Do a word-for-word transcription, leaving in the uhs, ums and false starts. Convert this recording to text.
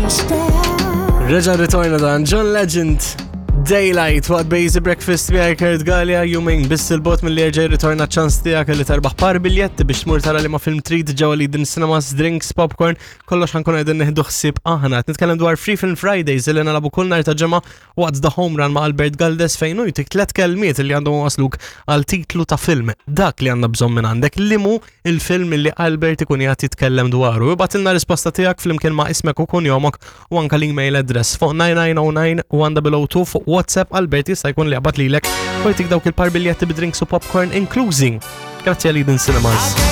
Understand. Reġa ritorna dan John Legend, Daylight, waqt Basic Breakfast miegħi Kurt Galea, jumejn biss il-bot mill-li jerġa' jirritorna ċans tiegħek li terbaħ par biljetti biex tmur tara li ma film trid ġewwa li din cinemas, drinks, popcorn, kollox ħankun qegħdin nieħdu ħsieb aħna. Qed nitkellem dwar Free Film Fridays li nilagħbu kull nhar ta' ġimgħa waqt The Home Run ma' Albert Galdes, fejn hu jtik tliet kelmiet li għandhom wasluk għal titlu ta' film. Dak li għandna bżonn minn għandek li mu il-film li Albert ikun jgħid jitkellem dwaru. Ibgħatilna risposta tiegħek flimkien ma' ismek u kunjomok u anka l-email address fuq nine nine zero nine one zero zero two fuq WhatsApp. Albert jista' jkun li jaqbad lilek u jtik dawk il-par biljetti bidrinks u popcorn inklużi. Grazzi għal Eden Cinemas.